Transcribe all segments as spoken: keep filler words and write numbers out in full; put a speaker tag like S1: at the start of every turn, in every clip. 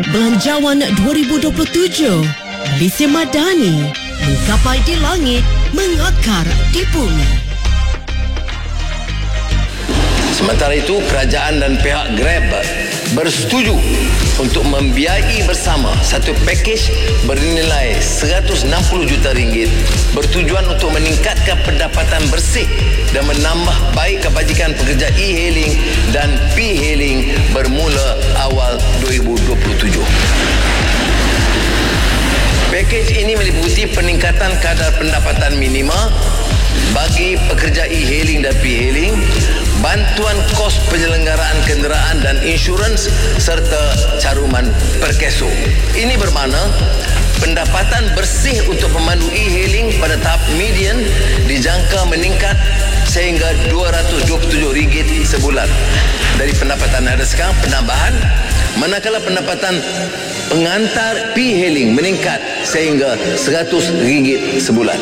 S1: Belanjawan dua ribu dua puluh tujuh, Malaysia Madani, menggapai di langit, mengakar di bumi.
S2: Sementara itu, kerajaan dan pihak Grab bersetuju untuk membiayai bersama satu pakej bernilai seratus enam puluh juta ringgit bertujuan untuk meningkatkan pendapatan bersih dan menambah baik kebajikan pekerja e-hailing dan p-hailing bermula awal dua ribu dua puluh tujuh. Pakej ini meliputi peningkatan kadar pendapatan minima bagi pekerja e-hailing dan p-hailing, bantuan kos penyelenggaraan kenderaan dan insurans serta caruman perkeso. Ini bermakna pendapatan bersih untuk pemandu e-hailing pada tahap median dijangka meningkat sehingga dua ratus dua puluh tujuh ringgit sebulan. Dari pendapatan ada sekarang penambahan, manakala pendapatan pengantar p-hailing meningkat sehingga seratus ringgit sebulan.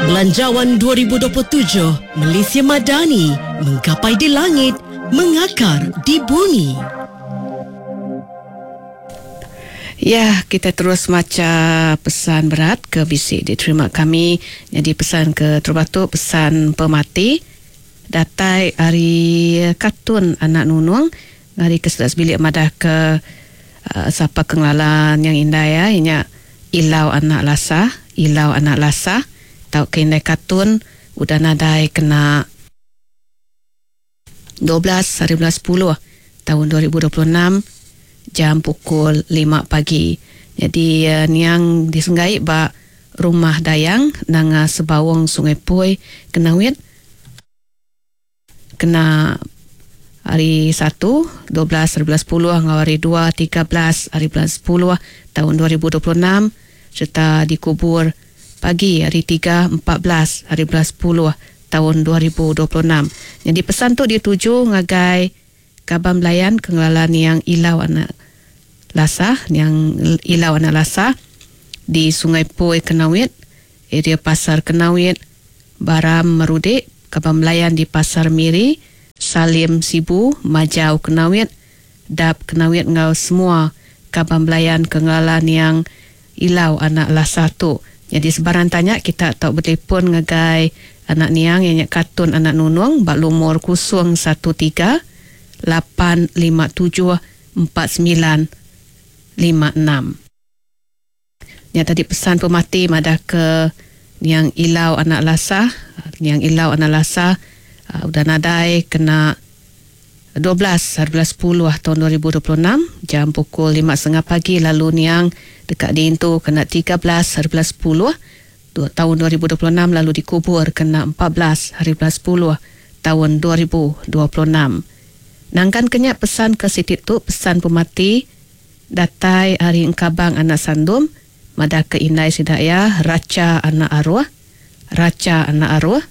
S1: Belanjawan dua ribu dua puluh tujuh, Malaysia Madani, menggapai di langit, mengakar di bumi.
S3: Ya, kita terus maca pesan berat ke bisik diterima kami. Jadi pesan ke Terbatuk, pesan pemati. Datai hari Katun Anak Nunung, hari ke sebelas bilik madah ke, uh, siapa kengalalan yang indah ya, inya Ilau Anak Lasah, Ilau Anak Lasah. Tau ke indai Katun udah nadai kena dua belas hari bulan sepuluh tahun dua ribu dua puluh enam jam pukul lima pagi. Jadi, uh, niang disenggai ba rumah Dayang Nanga Sebawang Sungai Pui Kenawit kena hari satu dua belas hari bulan sepuluh ngau hari dua tiga belas hari bulan sepuluh tahun dua ribu dua puluh enam serta dikubur pagi hari tiga empat belas hari bulan sepuluh tahun dua ribu dua puluh enam. Jadi pesan tu dituju ngagai Kabam Belayan Kengelalan yang Ilau Anak Lasah, yang Ilau Anak Lasah di Sungai Pui Kenawit, area Pasar Kenawit, Baram Merudik, Kabam Belayan di Pasar Miri, Salim Sibu, Majau Kenawit, Dap Kenawit ngau semua Kabam Belayan Kengelalan yang Ilau Anak Lasah tu. Jadi sebarang tanya kita tak bertelefon ngagai anak niang yang Katun Anak Nunung bak lumur kosong satu tiga lapan lima tujuh empat sembilan lima enam. Yang tadi pesan pemati madah ke niang Ilau Anak Lasah, niang Ilau Anak Lasah, uh, udah nadai kena dua belas hari bulan sepuluh tahun dua ribu dua puluh enam jam pukul lima setengah pagi, lalu niang dekat diintu kena tiga belas hari bulan sepuluh tahun dua ribu dua puluh enam, lalu dikubur kena empat belas hari bulan sepuluh tahun dua ribu dua puluh enam. Nangkan kenyak pesan ke sitit tu, pesan pemati datai hari engkabang anak sandum madah ke indai sidaya Raca anak arwah, Raca anak arwah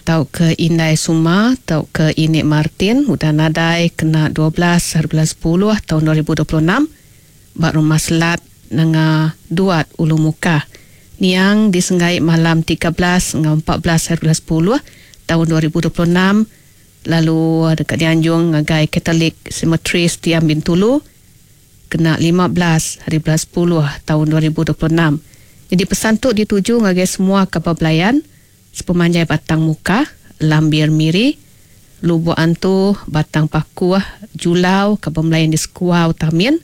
S3: tau ke indai Suma tau ke Inik Martin udah nadai kena dua belas hari bulan sepuluh tahun dua ribu dua puluh enam bak rumah Selat Nanga Duat Ulu Mukah. Niang disenggai malam tiga belas ngau empat belas hari bulan sepuluh tahun dua ribu dua puluh enam, lalu dekat dianjung ngagai Katolik Cemetery Setiam Bintulu kena lima belas hari bulan sepuluh tahun dua ribu dua puluh enam. Jadi pesan tu dituju ngagai semua kapal belayan sepemanjai Batang Muka, Lambir Miri, Lubuk Antu, Batang Pakuah, Julau, kapal belayan di Sekuau Tamin,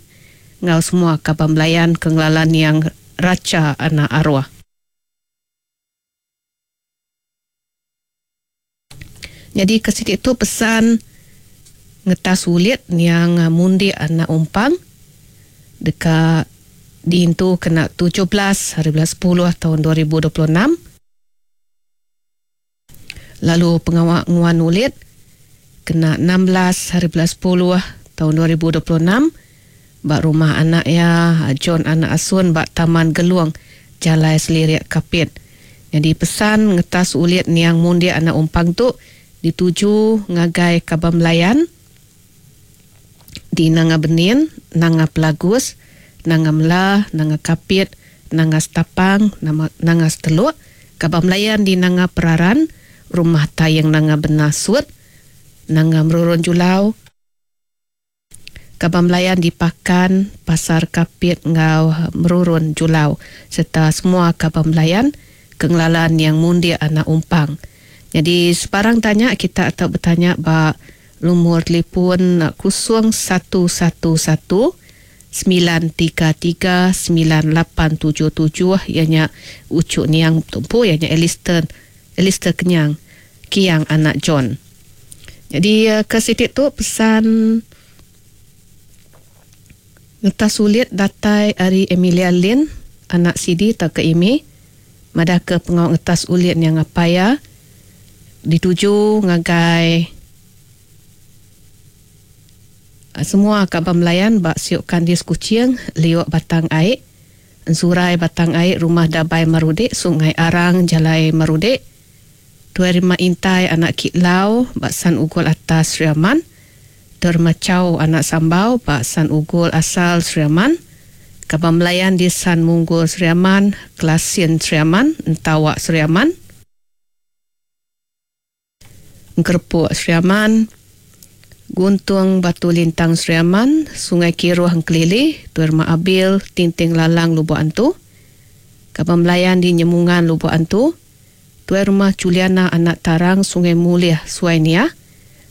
S3: ngau semua kapal belayan kengelalan yang Raca Anak Arwah. Jadi ke situ tu pesan ngetas sulit yang mundi anak umpang dekat diintu kena tujuh belas hari bulan sepuluh tahun dua ribu dua puluh enam. Lalu pengawak nguan ulit kena enam belas hari bulan sepuluh tahun dua ribu dua puluh enam bak rumah anak ya John anak Asun bak Taman Geluang Jalai Selirik Kapit. Jadi pesan ngetas ulit niang mundi anak umpang tu dituju ngagai Kabam Belayan di Nanga Benin, Nanga Pelagus, Nanga Mela, Nanga Kapit, Nanga Setapang, Nanga Seteluk, Kabam Belayan di Nanga Peraran, Rumah Tayang Nanga Benasut, Nanga Merurun Julau, Kaban Belayan di Pakan, Pasar Kapit ngau Merurun Julau serta semua kaban belayan kengelalan yang mundik anak umpang. Jadi sebarang tanya kita atau bertanya ba lumur telefon kosong satu satu satu sembilan tiga tiga sembilan lapan tujuh tujuh ianya ucuk niang tumpu ianya Alistair, Alistair Kenyang Kiang anak John. Jadi ke sitik tu pesan ngetas sulit datai ari Emilia Lin anak Sidi tau ke Imi madah ke pengawak ngetas ulit yang apa ya dituju ngagai semua kaban belayan bak siuk kandis kucing liuk batang aik ensurai batang aik rumah dabai marudik Sungai Arang Jalai Marudik Tuai Rima Intai anak Kitlau bak San Ugol atas Sri Aman Termacau anak Sambau bak San Ugol asal Sri Aman Kaban Belayan di San Munggul Sri Aman Kelasin Sri Aman Entawak Sri Aman Kerepuk Sri Aman Guntung Batu Lintang Sri Aman Sungai Kiruh Engkelili Tuai Rumah Abil Tinting Lalang Lubuk Antu Kaban Belayan di Nyemungan Lubuk Antu Tuai Rumah Juliana anak Tarang Sungai Muliah Suainia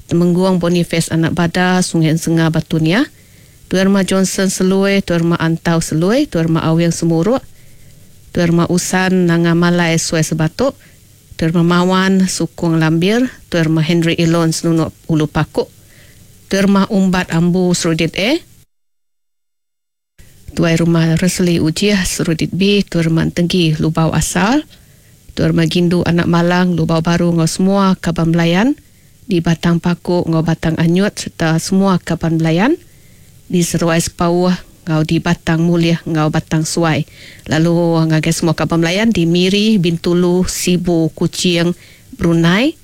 S3: Temengguang Boniface anak Bada Sungai Ensenga Batunia Tuai Rumah Johnson Selui Tuai Rumah Antau Selui Tuai Rumah Awing Semuruk Tuai Rumah Usan Nanga Malai Suai Sebatuk Tuai Rumah Mawan Sukung Lambir Tuai Rumah Henry Elon Senunuk Ulu Pakuk Tuai Rumah Umbat Ambu Serudit A Tuai Rumah Resli Ujiah Serudit B Tuai Rumah Tenggi Lubau Asal Tuai Rumah Gindu Anak Malang Lubau Baru ngau semua kaban belayan di Batang Paku ngau Batang Anyut serta semua kaban belayan di Seruai Sepauh ngau di Batang Muliah ngau Batang Suai. Lalu ngagai semua kaban belayan di Miri, Bintulu, Sibu, Kuching, Brunei,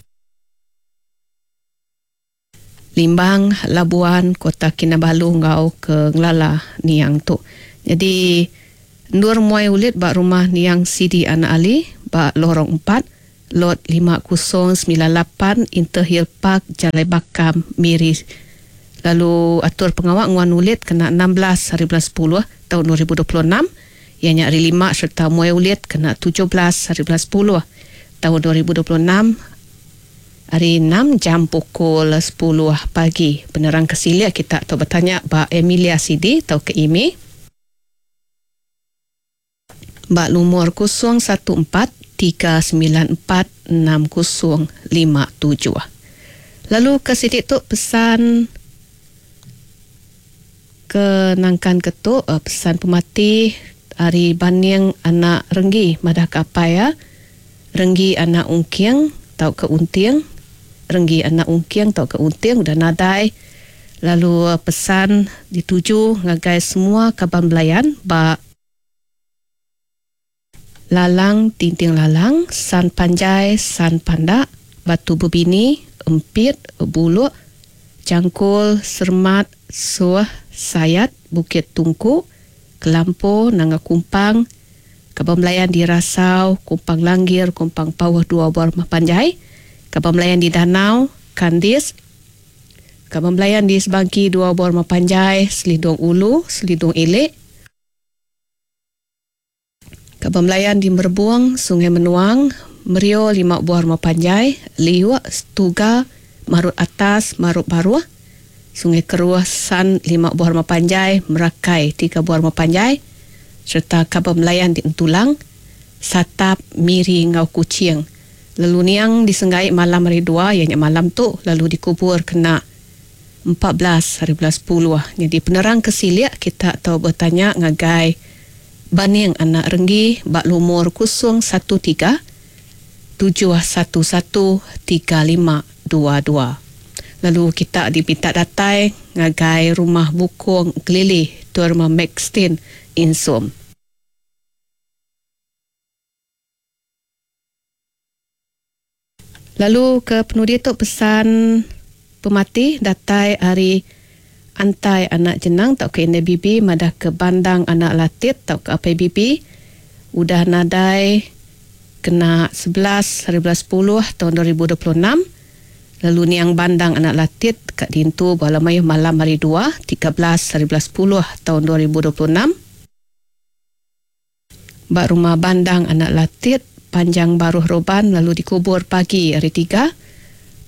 S3: Limbang, Labuan, Kota Kinabalu ngau ke Ngelala Niang tu. Jadi Nur Muai Ulit bak rumah Niang Sidi Anak Ali bak Lorong empat Lot lima kosong sembilan lapan Interhill Park Jalai Bakam Miri. Lalu atur pengawak nguan ulit kena enam belas hari bulan sepuluh tahun dua ribu dua puluh enam ianya hari lima serta muai ulit kena tujuh belas hari bulan sepuluh tahun dua ribu dua puluh enam hari enam jam pukul sepuluh pagi. Penerang kesilia kita atau bertanya ba Emilia Sidi atau ke Imi ba lumur kosong satu empat tiga sembilan empat enam kosong lima tujuh. Lalu ke sidik tu pesan ke nangkan ketuk pesan pemati hari Baning anak Renggi madah kapai ya. Renggi anak Ungking tau ke Unting. Renggi anak Ungking tau ke Unting udah nadai. Lalu pesan dituju ngagai semua kaban belayan ba Lalang Tinting Lalang, San Panjai, San Pandak, Batu Bebini, Empit, Buluk, Cangkul, Sermat, Suah, Sayat, Bukit Tungku, Kelampo, Nanga Kumpang, Kaban Belayan di Rasau, Kumpang Langgir, Kumpang Pawah Dua Buah Rumah Panjai, Kaban Belayan di Danau, Kandis, Kaban Belayan di Sebangki Dua Buah Rumah Panjai, Selidung Ulu, Selidung Ilik, Kaban Belayan di Merbuang, Sungai Menuang, Merio lima buah rumah panjai, Liwak, Stuga, Marut Atas, Marut Baruah, Sungai Keruah, San lima buah rumah panjai, Merakai tiga buah rumah panjai, serta Kaban Belayan di Entulang, Satap, Miri ngau Kuching. Lalu niang disenggai malam hari dua, ianya malam tu, lalu dikubur kena empat belas hari bulan sepuluh. Jadi penerang kesiliak kita tahu bertanya ngagai Baning anak Renggi bak lumur kosong satu tiga tujuh satu satu tiga lima dua dua. Lalu kita dipinta datai ngagai rumah Bukong Kelili Tuan Rumah Maxtin Insum. Lalu ke penudi tu pesan pemati datai hari Antai anak Jenang tau ke N B B madah ke Bandang anak Latit tau ke A P B B udah nadai kena sebelas hari bulan sepuluh tahun dua ribu dua puluh enam. Lalu niang Bandang anak Latit kat dintu bala mayuh malam hari dua, tiga belas hari bulan sepuluh tahun dua ribu dua puluh enam. Ba rumah Bandang anak Latit Panjang Baruh Roban lalu dikubur pagi hari tiga,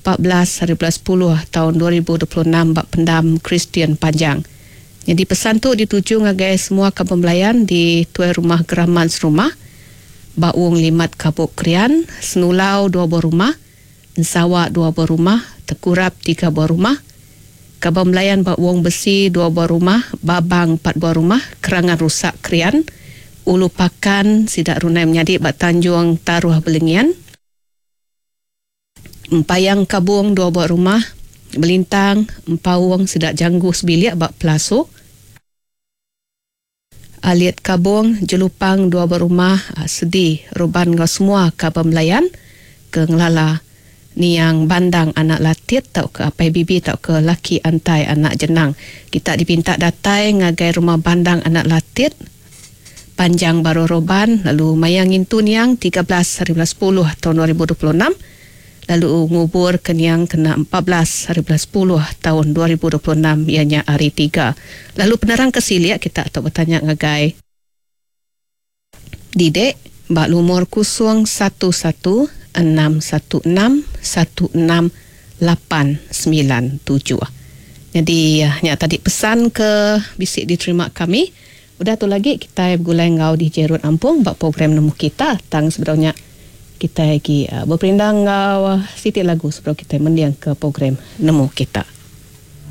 S3: empat belas hari bulan sepuluh tahun dua ribu dua puluh enam ba pendam Kristian Panjang. Jadi pesan tu dituju ngagai semua kaban belayan di tuai rumah Geraman serumah, Baung Limat Kabuk Krian, Senulau dua buah rumah, Ensawa dua buah rumah, Tekurap tiga buah rumah, Kaban belayan Baung Besi dua buah rumah, Babang empat buah rumah, Kerangan Rusak Krian, Ulu Pakan Sidak Runai Menyadi Bak Tanjung Taruh Belengian, Empayang Kabung dua buah rumah, Belintang Empaung Sidak Janggu Sebilik Bak Pelasu, Alit Kabung Jelupang dua buah rumah, Sedi Ruban ngau semua kaban belayan ke ngelala niang Bandang anak Latit tau ke apai bibi tau ke laki antai anak jenang. Kita dipinta datai ngagai rumah Bandang anak Latit Panjang Baru Roban lalu mayang ngintu niang tiga belas hari bulan sepuluh tahun dua ribu dua puluh enam lalu ngubur ke niang kena empat belas hari bulan sepuluh tahun dua ribu dua puluh enam ianya hari tiga. Lalu penerang ke silik kita atau bertanya ngagai Didek bak lumur kosong satu satu enam satu enam satu enam lapan sembilan tujuh. Jadi nya tadi pesan ke bisik diterima kami. Udah tu lagi kita bergulai ngau di Jerut Ampung bak program nemu kita tang sebenarnya kita lagi uh, berperindang ngau uh, sitik lagu sebelum kita mendiang ke program nemu kita.